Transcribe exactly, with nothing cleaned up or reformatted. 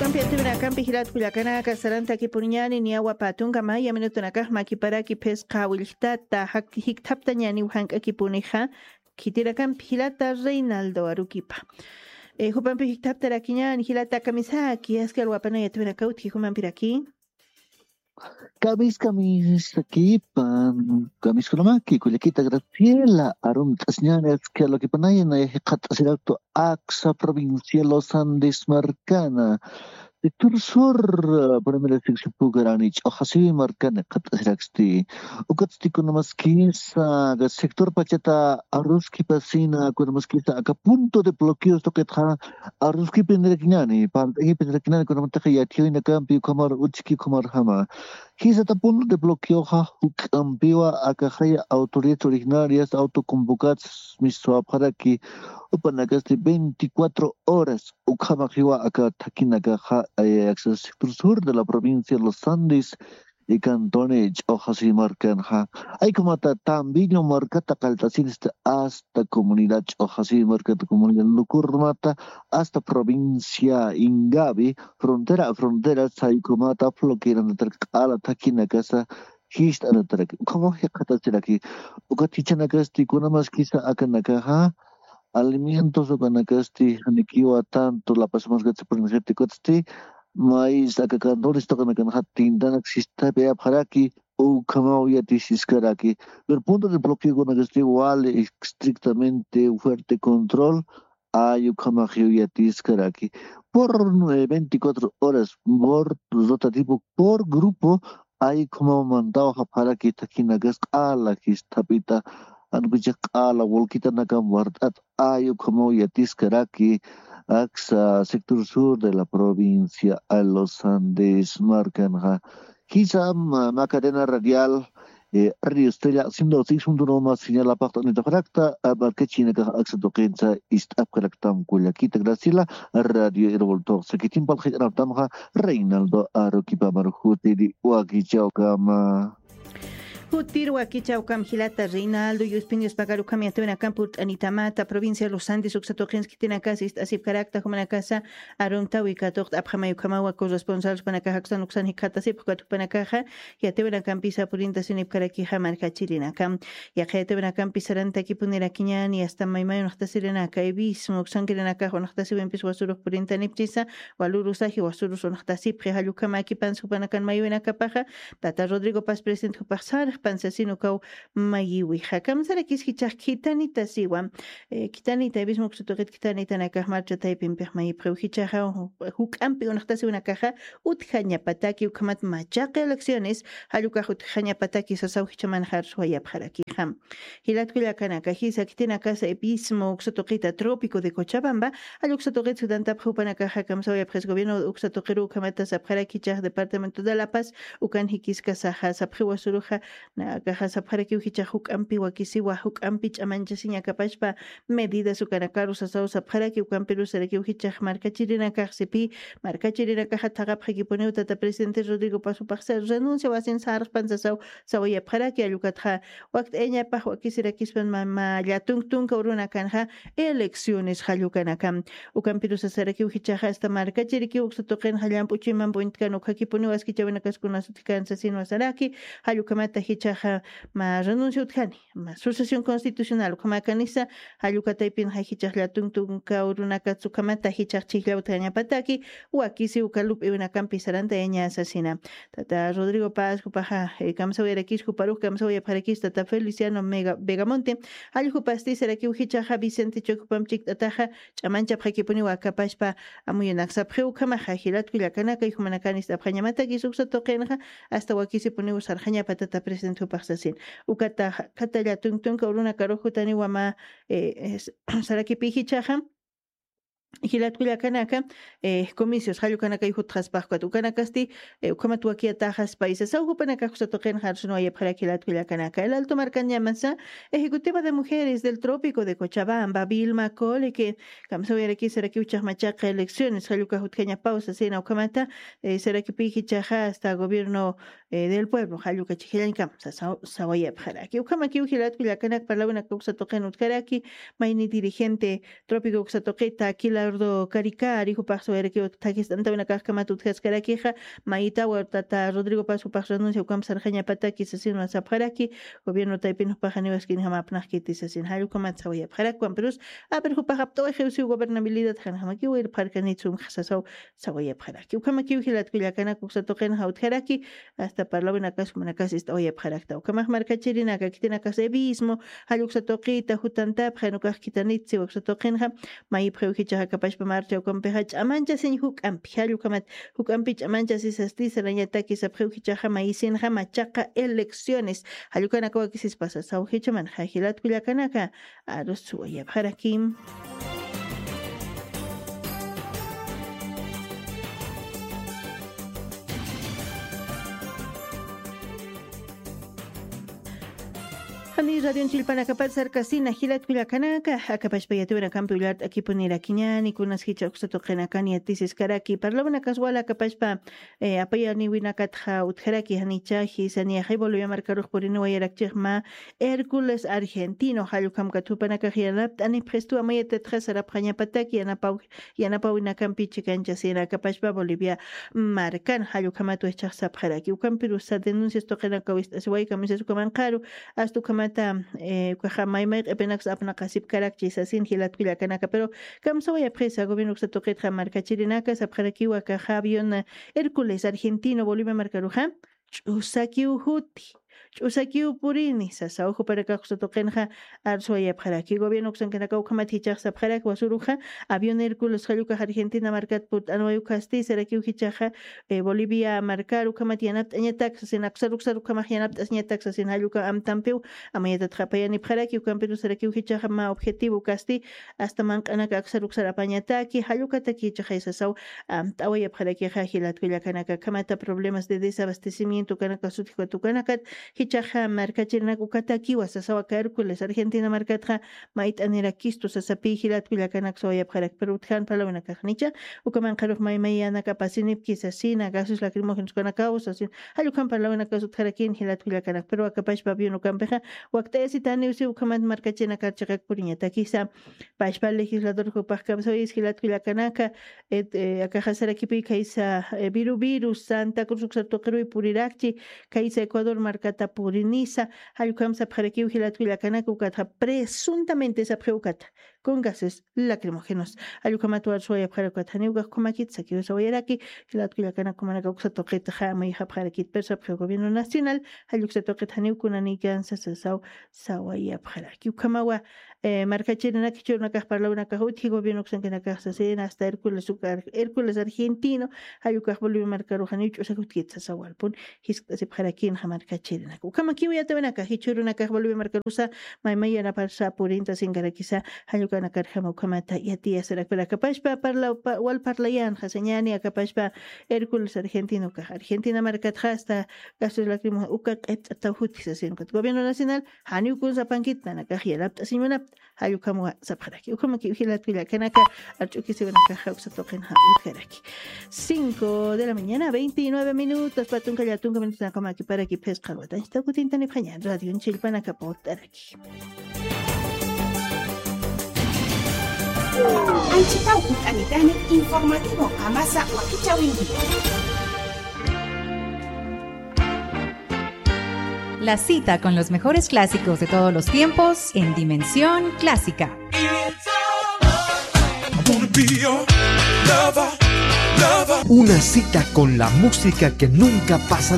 Yatiwinakampi jilat kullakanaka sarantakipuniñani niyawa patunka maya minutunakax makiparaki phisqa willktata jikthaptañaniw jank'akipunixa. Khitirakampi jilata Reinaldo Aruquipa. Jupampi jikthaptarakiñani jilata kamisaki askal wapanaya yatiwinakawtki jumampiraki. Kamis kamisakipan kamiskunamaki kullakita Graciela arumt'asiñani askal wakipanaya naya jikxat'asiraktu aksa provincia Los Andes markana. Sector sur, primera sección pugarani ch'oxasiwi markani qat'asiraksti. Ukatsti kunamaskisa sector pachata aruskipasina kunamaskisa aka punto de bloqueos tuqitxa aruskipinirakiñani pant'akipinirakiñani kunamataxa yatiyawinakampi ukhamar utski ukhamarjama. Jisata punto de bloqueoxa juk'ampiwa akaxaya autoridades originarias autoconvocadas miswapxaraki upanakasti veinticuatro horas ukhamaxiwa aka thakinakaxa. Aksa sector sur de la provincia de los Andes y cantone ch'oxasi markanxa. Aykumata tambillo markata qallt'asinista hasta comunidad ch'oxasi markata comunidad lukurmata hasta provincia ingavi frontera a frontera saykumata floqueranatarak q'ala thakinakasa. Jist'anatarak ukhamaw jikxatasiraki. Ukat jichanakasti kunamaskisa akanakaxa alimentos ukanakasti janikiwa tanto lapasmaskatsa purinsirtikutsti mais aka cantones tuqinakanxa tintanak sistapayapxaraki. Ukhamaw yatisiskaraki pero punto de bloqueokunakasti wali estrictamente fuerte control. Ay ukhamaxiw yatiskaraki por veinticuatro horas por rotativo por grupo. Ay ukhamaw mantaw japxaraki thakinakas q'ala jistapita ankuchik q'ala wulkitanakam wart'at. Ay ukhamaw yatiskaraki aksa sector sur de la provincia a los Andes markanxa. Jisa ma cadena radial, radio estrella ciento seis punto uno más señal apaqta unitapxarakta markachinakax aksa tuqinsa ist'apkaraktam kullakita Graciela. Radio irvultoq sakitin palqhik'anaptamxa Reinaldo Aruquipa marjutiri wakichawkama. Jutir wakichawkam jilata Reinaldo yuspin yuspakarukham yatiwinakampi urt'anitamata provincia Los Andes uksa tuqinsa khitinakasa ist'asipkarakta jumanakasa arumtawi katuqt'apxamay ukhamawa corresponsal jupanakaxa uksan uksan jikxatasipxkat jupanakaxa. Yatiwinakampisa purintasinipkarakixa markachirinakam. Yaqha yatiwinakampi sarantakipunirakiñani asta maymay unaqtasirinaka ibismu uksankirinakax unaqtasiwimpis wasurux purintanipchisa. Walurusaki wasurus unaqtasipxi jallukama akipansa jupanakan maywinakapaxa. Tata Rodrigo Paz presidente jupax sarxpan sasin ukaw mayiwixa kamsarakis jichax khitanitasiwa. Khitanita ibismu uksa tuqit khitanitanakax marcha taypimpix mayipxiw jichaxa juk'ampi unaqtasiwinakaxa utjañapataki ukhamat machaqi elecciones. Jallukax utjañapataki sasaw jichamanxar suwayapxarakixa. Jilatkullakanaka jisa khitinakasa ibismu uksa tuqita trópico de cochabamba. Jalluksa tuqit sutantapxa jupanakaxa kamsawayapxis gobierno uksa tuqiru ukhamata sapxaraki jichax departamento de la paz. Ukan jikiskasaxa sapxiwa suruxa nakaxa sapxarakiw jichax juk'ampi wakisiwa juk'ampi ch'amanchasiñakapashpa. Medidas ukanakaru sasaw sapxaraki ukampiru sarakiw jichax markachirinakaxsipi. Markachirinakaxa thaqapxakipuniw tata presidente Rodrigo Paz jupaxsa renuncia wasin sarxpan sasaw sawayapxaraki allukatxa. Wakt'ayañapax wakisirakispan mama llatunk tunka urunakanxa elecciones jallukanakam. Ukampiru sasarakiw jichaxa asta markachirikiw uksa tuqinxa llamp'u chuyman p'uñtkan ukakipuniw askichawinakaskunas utjkan sasinwa saraki. Jallukamata jichaxa ma renuncia utjani ma sucesión constitucional ukhamakanisa. Jallukataypinxa jichax llatunk tunka urunakatsa ukhamata jichax chhijllaw utjañapataki wakisi uka lup'iwinakampi sarantayaña sasina. Tata Rodrigo Paz jupaxa kamsawayarakis juparux kamsawayapxarakis tata Feliciano Vegamonte. Jallukupasti sarakiw jichaxa Vicente Chueco jupamp chikt'ataxa ch'amanchapxakipuniw akapashpa. Amuyunak sapxiw ukhamaxa jilatkullakanaka ijumanakan ist'apxañamatakis uksa tuqinxa. Asta wakisipuniw sarxañapa tata presidente jupax sasin. Ukataxa kata llatunk tunka urunakarux jutaniwa ma sarakipi jichaxa. Jilatkullakanaka comicios jallukanakay jutxaspaxkat ukanakasti ukhamat wakiyataxas paisasaw jupanakax uksa tuqinxa arsunwayapxarak jilatkullakanaka el alto markañamasa. Ejecutiva de mujeres del trópico de cochabamba vilma cole que kamsawayarakis sarakiw jichax machaqa elecciones jallukax utjañapaw sasina ukhamata. Sarakipi jichaxa asta gobierno del pueblo jalluka chhijllañkam sawayapxaraki ukhamakiw jilatkullakanak parlawinaka uksa tuqin utjaraki. Mayni dirigente trópico uksa tuqita aquila Eduardo Caricari, jupax sawayarakiw thakist'antawinakaxkamat utjaskarakixa, mayitawa tata Rodrigo Paz jupax renuncia ukamp sarxañapataki sasin sapxaraki, gobierno taypin jupax janiw askinjama apnaqkiti sasin, jall ukamat sawayapxarakwan, pero a ver, jupax apt'awaxiw siw gobernabilidad janjamakiw irpxarkanit sumxa sasaw sawayapxaraki. Ukhamakiw jilat kullakanaka uksa tuqinxa utjaraki, hasta parlawinakas jumanakas ist'awayapxarakta. Ukhamax markachirinaka, khitinakas evismo, jall uksa tuqita jutantapxa, jan ukax khitanitsi uksa tuqinxa, mayipxiw jichaxa kapashpa marcha ukampixa ch'amanchasiñ juk'ampi, jall ukamat juk'ampi ch'amanchasisasti sarañataki sapxiw jichaxa mayisinxa machaqa elecciones, jall ukanaka wakisispa sasaw jichamanxa jilat kullakanaka, arus sawayapxarakim. Jani radion chillpanakapat sarkasina jilat kullakanaka, akapashpa yatiwinakampi ullart'akipunirakiñäni, kunas jichha uksa tuqinakan yatisiskaraki, parlawinakas wal akapashpa, eh, apayaniwinakatxa utjaraki, janicha jisa niyaxay Bolivia markarux puriniwayarakchixma, Hércules Argentino, jall ukhamkat jupanakax yanapt'anipxistu amayatatxa sarapxañapataki, yanapaw yanapawinakampi chikanchasina akapashpa Bolivia markan, jall ukhamat waychax sapxaraki. Ukampirusa denuncias tuqinaka wist'asiway kamisas ukamanqaru, hasta ukhamata, eh, ukaxa maymay q'ipinaksa apnaqasipkarakchi sasin jilat kullakanaka, pero kamsawayapxisa gobierno uksa tuqitxa markachirinaka sapxarakiwa akaxa avión, eh, Hércules Argentino Bolivia markaruxa, ch'usakiw juti, ch'usakiw purini, sasaw jupanakax uksa tuqinxa arsuwayapxaraki. Gobierno uksankanakaw ukhamat jichax sapxarak wasuruxa, avión Hércules jall ukax Argentina markat purt'anway ukasti, sarakiw jichaxa, eh, Bolivia markar ukhamat yanapt'añatak sasin, aksar uksar ukhamax yanapt'asiñatak sasin, jall uka amtampiw amayatatxa apayanipxaraki, ukampiru sarakiw jichaxa mä objetivo ukasti, hasta manq'anaka aksar uksar apañataki, jall ukataki jichaxa sasaw amt'awayapxarakixa jilat kullakanaka, kamata problemas de desabastecimiento kanaka sutjiwat ukanakat, jichaxa markachirinaka ukatakiwa sasaw aka Hércules Argentina markatxa mayt'anirakistu sasapi jilat kullakanaka sawayapxarak, pero utjan parlawinakax nicha, ukamanqarux maymayanaka apasinipki sasina, gases lacrimógenos kanakaw sasin, jall ukham parlawinakas utjarakin jilat kullakanaka, pero akapashpa avión ukampixa wakt'ayasitaniw si ukhamat markachirinakar chiqak puriñatakisa, pashpa legislador jupax kamsawayis jilat kullakanaka, et, eh, akaxa sarakipuy kaysa, eh, viru viru Santa Cruz uksar tuqiruy purirakchi, kaysa Ecuador markata purinisa, jall ukham sapxarakiw jilat kullakanaka ukatxa presuntamente sapxiw ukata, con gases lacrimógenos. Jall ukhamat warsuwayapxarak ukat janiw ukax ukhamakit sakiw sawayaraki, jilat kullakanaka jumanaka uksa tuqitxa mayjapxarakit, pero sapxiw gobierno nacional, jall uksa tuqit janiw kunanikansa sasaw sawayapxaraki. Ukhamawa, eh, markachirinak jichhürunakax parlawinakax utji gobierno uksankanakax sasin, hasta Hércules ukar, Hércules Argentino, jall ukax Bolivia markaruxa niw ch'usak utkit sasaw walpun jiskt'asipxarakinxa markachirinak. Ukhamakiw yatiwinaka, jichhürunakax Bolivia markarusa maymay yanaparsa purinta sinkarakisa, jall ukanakarjama ukhamata yatiyasarak, pero akapashpa parla, pa, wal parlayanxa sañäni akapashpa Hércules Argentino ukax Argentina markatxa hasta gases lacrimógenos uka q'ipt'ataw juti sasin ukat gobierno nacional, janiw kun sapankit nanakax yanapt'asiñ munapta, jall ukhamwa sapxaraki. Ukhamakiw jilat kullakanaka, arch'ukisiwanakaxa uksa tuqinxa utjaraki. Cinco de la mañana, veintinueve minutos, patunka llatunka minutos, nakamaki para que phisqa watañsta kutintanipxaña, radio chillpanaka portaraki. Anchitaw kut'anitani informativo amasa wakichawinki. La cita con los mejores clásicos de todos los tiempos en Dimensión Clásica. Una cita con la música que nunca pasa.